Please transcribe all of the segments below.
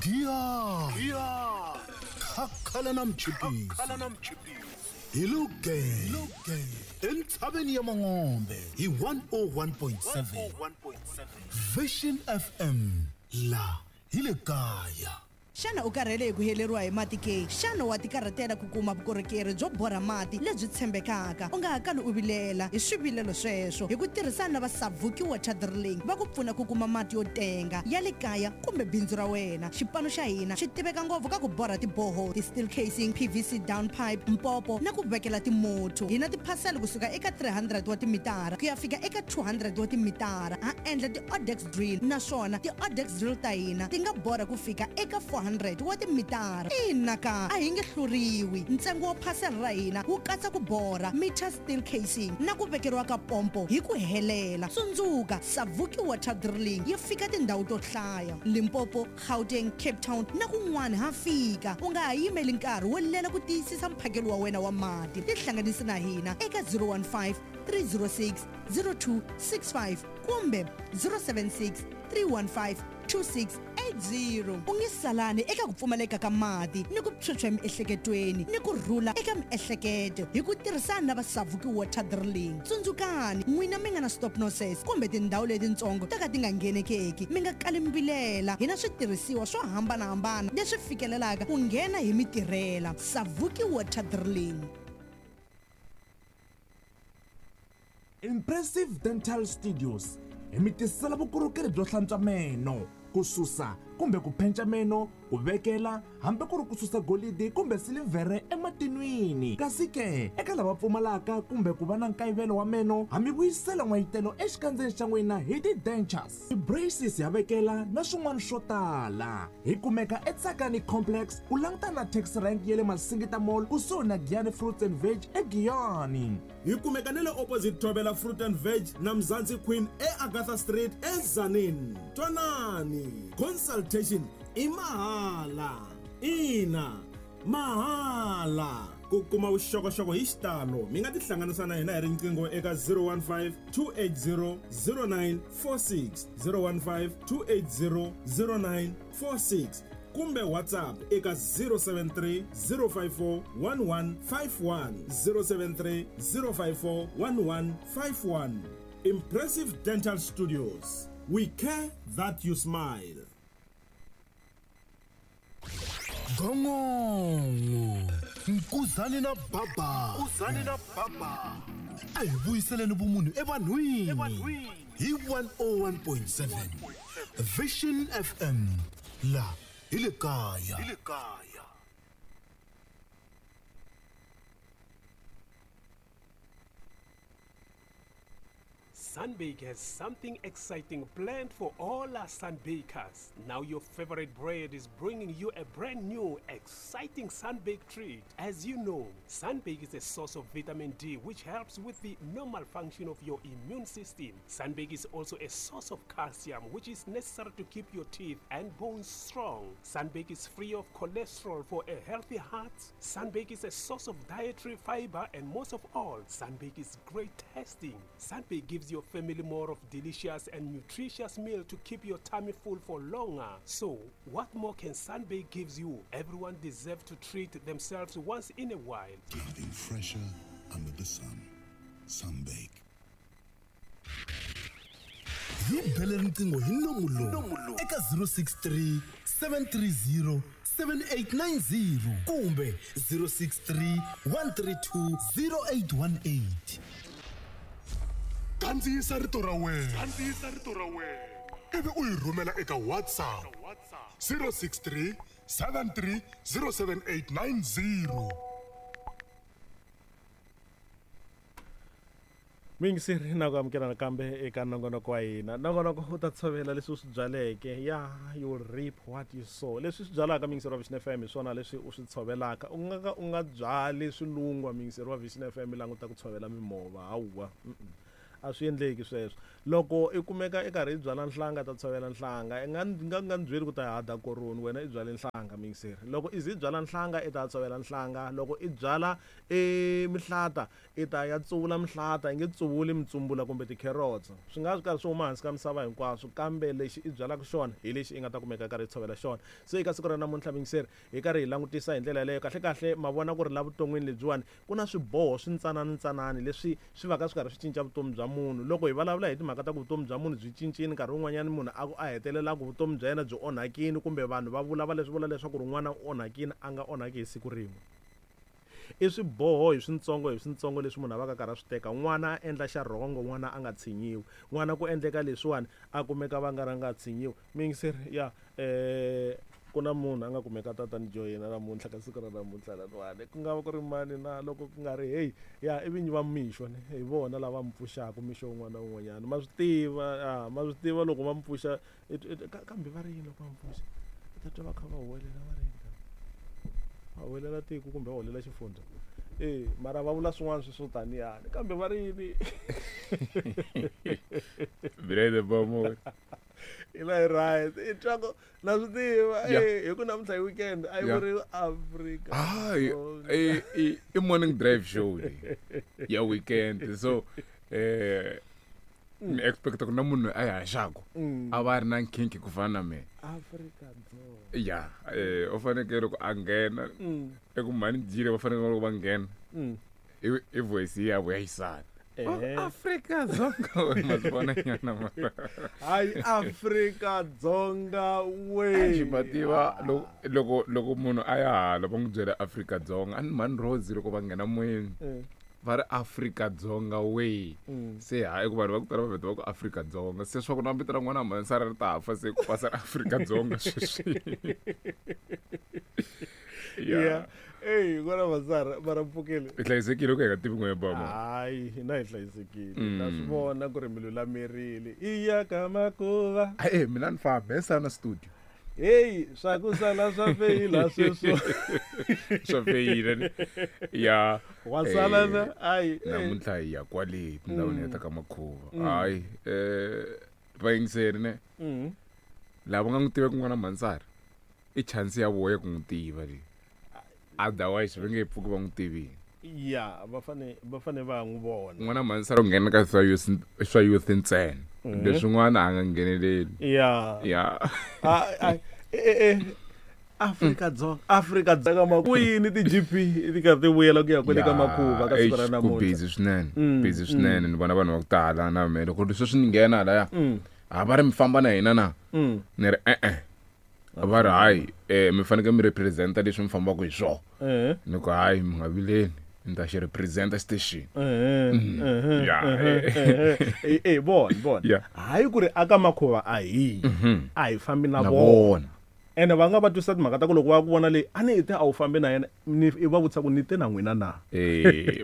Giya Khakhala na mchipisi hi luge entshaveni ya Mangombe hi 101.7 Vision FM la hi le kaya. Xana u karhele hi ku heleriwa hi mati ke? Xana wa tikarhatela ku kuma vukorhokeri byo borha mati lebyi tshembekaka? U nga ha kali u vilela hi swivilelo sweswo. Hi ku tirhisana na va Savuki Water Drilling va ku pfuna ku kuma mati yo tenga ya le kaya kumbe bindzu ra wena. Xipano xa hina xi tiveka ngopfu ka ku borha ti-borehole, ti-steel casing, PVC down pipe, mpopo na ku vekela timotho. Hi na tiphasela kusuka eka 300 wa timitara ku ya fika eka 200 wa timitara. Ha endla ti-odex drill naswona ti-odex drill ta hina ti nga borha ku fika eka 400 wa timitara. Ina ka, a hi nge hluriwi. Ntsengo wa phasela ra hina wu katsa ku borha, meter steel casing na ku vekeriwa ka pompo hi ku helela. Tsundzuka, Savuki Water Drilling yi fika tindhawu to hlaya, Limpopo, Gauteng, Cape Town na kun'wana ha fika. U nga ha yimeli nkarhi wo lela ku tiyisisa mphakelo wa wena wa mati. Tihlanganisi na hina eka 015 306 0265 kumbe 076 315 2680. U nge salani eka ku pfumaleka ka mati ni ku phyuphya emiehleketweni ni ku rhula eka miehleketo hi ku tirhisana na va Savuki Water Drilling. Tsundzukani, n'wina mi nga na stop noses kumbe tindhawu letitsongo to ka ti nga nghenekeki, mi nga kali mi vilela. Hi na switirhisiwa swo hambana-hambana leswi fikelelaka ku nghena hi mi tirhela. Savuki Water Drilling. Impressive Dental Studios hi mi tisela vukorhokeri byo hlantswa meno, ku susa kumbe ku phenca meno, ku vekela hambi ku ri ku susa golidi kumbe silivhere ematinwini. Kasi ke, eka lava pfumalaka kumbe ku va na nkayivelo wa meno, ha mi vuyisela n'wayitelo exikandzeni xa n'wina hi ti-dentures, ti-braces ha vekela na swin'wana swo tala. Hi kumeka eTsakani Complex ku langutana na taxi rank ya le Masingita Mall kusuhi na Giyani Fruits and Veg eGiyani. Hi kumeka na le opposite Thobela Fruit and Veg na Mzansi Queen eAgatha Street eTzaneen. Twanani, consultation i mahala. Ina, mahala. Ku kuma vuxokoxoko hi xitalo mi nga tihlanganisa na hina hi riqingho eka 015 280 0946, 015 280 0946 kumbe WhatsApp eka 073 054 1151, 073 054 1151. Impressive Dental Studios, we care that you smile. Gongongo Nkuzani na Baba Nkuzani na Baba a hi vuyiseleni vumunhu evanhwini hi 101.7 Vision FM la hi le kaya. Sunbake has something exciting planned for all our Sunbakers. Now your favorite bread is bringing you a brand new, exciting Sunbake treat. As you know, Sunbake is a source of vitamin D, which helps with the normal function of your immune system. Sunbake is also a source of calcium, which is necessary to keep your teeth and bones strong. Sunbake is free of cholesterol for a healthy heart. Sunbake is a source of dietary fiber, and most of all, Sunbake is great tasting. Sunbake gives your family more of delicious and nutritious meal to keep your tummy full for longer. So, what more can Sunbake gives you? Everyone deserves to treat themselves once in a while. Nothing fresher under the sun. Sunbake. Hi bele riqingho hi nomu lowu eka 063 730 7890 kumbe 063 132 0818. Kandziyisa rito ra wena. Kandziyisa rito ra wena. Ivi u yi rhumela eka WhatsApp 063 73 07890. Muyingiseri na ku amukela nakambe eka nongonoko wa hina. Nongonoko u ta tshovela leswi u swi byaleke. Ya, you reap what you sow. Leswi u swi byalaka muyingiseri wa Vision FM hi swona leswi u swi tshovelaka. U nga ka u nga byali swilungwa muyingiseri wa Vision FM languta ku tshovela mimova. Hawa. Mm-mm. A swi endleki sweswo. Loko i kumeka i karhi i byala nhlanga ta tshovela nhlanga. I nga nga nga ni byeli ku ta hada koroni wena i byale nhlanga muyingiseri. Loko i ze i byala nhlanga i ta tshovela nhlanga. Loko i byala e mihlata i ta ya tsuvula mihlata i nge tsuvuli mitsumbula kumbe ti-carrots. Swi nga swi karhi swi huma hansi ka misava hinkwaswo kambe lexi i byalaka xona hi lexi i nga ta kumeka i karhi i tshovela xona. Se eka siku ra namuntlha muyingiseri hi karhi hi langutisa hi ndlela yaleyo kahle-kahle ma vona ku ri la vuton'wini lebyiwani ku na swiboho swintsanani-ntsanani leswi swi vaka swi karhi swi cinca vutomi bya munhu. Loko hi vulavula hi timhaka ta ku vutomi bya munhu byi cincile nkarhi wun'wanyana munhu a ku a hetelela ku vutomi bya yena byi onhakile kumbe vanhu va vula va leswi vula leswaku ri n'wana u onhakile a nga onhaki hi siku rin'we. I swiboho hi swintsongo hi swintsongo leswi munhu a vaka a karhi a swi teka. N'wana a endla xa rhongo n'wana a nga tshinyiwi. N'wana ku endleka leswiwani a kumeka va nga ri a nga tshinyiwi. Muyingiseri ya ku na munhu a nga kumeka tatani joyina namuntlha ka siku ra namuntlha laniwani ku nga va ku ri mani na loko ku nga ri heyi ya i vinyi va mixo ne hi vona lava mi pfuxaka mixo wun'wana na wun'wanyana ma swi tiva ya ma swi tiva loko va mi pfuxa kambe va ri yini loko va mi pfuxa u ta twa va kha va huwelela va ri yini va huwelela tiko kumbe va huwelela xifundza e mara va vula swin'wana swi swo taniyani kambe va ri yini Brother Bomo. Ila hi right i twa ku na swi tiva Yeah. hi ku namuntlha hi weekend a yi Yeah. vuriwi Afrika Hayi, Dzonga. i morning drive show leyi ya weekend so mi expect ku na munhu a yi haxaku a va a ri na nkhinkhi ku fana na mina Afrika Dzonga ya u fanekele ku a nghena eku mhani jile va fanekele loko va nghena i voice ya vo ya xisati Ehe. Afrika Dzonga ma swi vona nyana mara hayi Afrika Dzonga we xi ma tiva loko loko munhu a ya hala va n'wi byela Afrika Dzonga a ni mhani Rose loko va nghena moyeni va ri Afrika Dzonga we se hayi ku vanhu va ku tala va vheta va ku Afrika Dzonga se swa ku na vito ra n'wana mhansara ri ta fa se ku pasa ra Afrika Dzonga sweswi ya eyi kona masara mara mpfukele i hlayisekile ku hi nga tivi n'we bama hayi hina hi hlayisekile na swi vona ku ri mi lulamerile i ya ka makuva e mina ni famba hesana studio heyi swa ku sala swa feyila sweswo swa feyila ni ya wa sala na ayi namuntlha hi ya kwale tindhawini ya ta ka makhuva hayi vayingiseri ne lava nga n'wi tiveki n'wana mhansara i chance ya voya ku n'wi tiva leyi otherwise va nge pfuki va n'wi tivini ya va fane va fane va n'wi vona n'wana mhansara u nghena ka swa youth swa youth ntsena leswin'wana a nga ngheneleli ya ya Afrika Dzonga Afrika Dzonga ku yini ti-GP ti karhi ti vuyela ku ya kwele ka makhuva ka siku ra ku namuntlha busy swinene busy swinene ni vona vanhu va ku tala na me loko sweswi ni nghena laya a va ri mi famba na hina na ni ri e-e va ri hayi mi fanekele mi representa leswi mi fambaka hi swona ni ku hayi mi nga vileli ni ta xi representa station Ya, e vona vona Yeah. hayi ku ri aka makhuva a hi a hi fambi na na vona vona ene va nga va twisa timhaka ta ku loko va ku vona leyi a ni te a wu fambi na yena ni i va vutisa ku ni te na n'wina na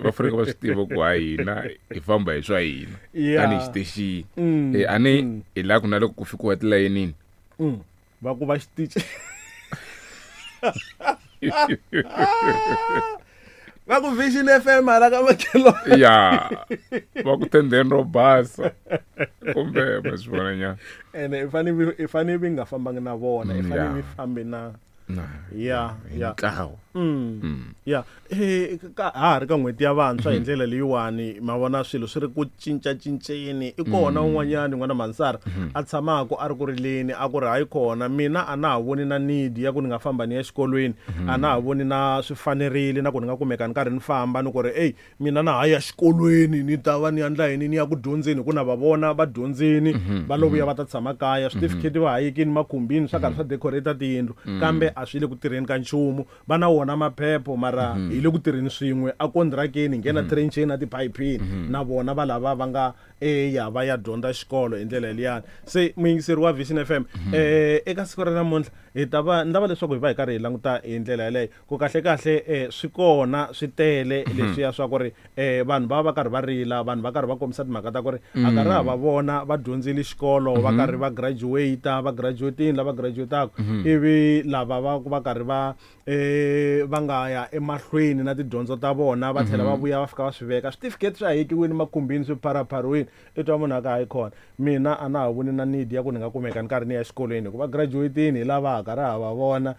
va fanekele va swi tiva ku hayi hina hi famba hi swa hina Yeah. tanihi xitexini a ni hi laha ku na loko ku fikiwa tilayenini Va ku va xitichi va ku Vision FM hala ka makhelwani ya va ku tendeni ro basa kumbe ma swi vona nyana ene i fane i fane mi nga fambangi na vona i fane Yeah. mi fambe na Na, ya hi ya ntlawa ya ka ha ha ri ka n'hweti ya vantshwa hi ndlela leyiwani ma vona swilo swi ri ku cincacinceni i kona un'wanyani n'wana mansara a tshamaka a ri ku rileni a ku ri hayi kona mina a na ha voni na need ya ku ni nga famba ni ya exikolweni a na ha voni na swi fanerile na ku ni nga kumeka ni karhi ni famba ni ku ri eyi mina na ha ya xikolweni ni ta va ni endla yini ni ya ku dyondzeni hi ku na va vona va dyondzini va lo vuya va ta tshama kaya switifikheti va hayekini makhumbini swa karhi swa decorate tiyindlu kambe a swi le ku tirheni ka nchumu va na wona maphepho mara hi le ku tirheni swin'we a kondirakeni hi nghena trencheni na tiphayiphini na vona va lava va nga eya va ya dyondza xikolo hi ndlela liyani se muyingiseri wa Vision FM eka siku ra namuntlha hi ta va ni lava leswaku hi va hi karhi hi languta hi ndlela yaleyo ku kahle kahle swi kona swi tele leswiya swa ku ri vanhu va va karhi va rila vanhu va karhi va kombisa timhaka ta ku ri a karhi ha va vona va dyondzile xikolo va karhi va graduate va graduatini lava graduataka ivi lava va va karhi va va nga ya emahlweni na tidyondzo ta vona va tlhela va vuya va fika va swi veka switifiketi swi hayekiwini makhumbini swi pharaphariwini i twa munhu a ka hayi khona mina a na ha voni na need ya ku ni nga kumeka ni karhi ni ya exikolweni hikuva graduatini hi lava ha karhi ha va vona.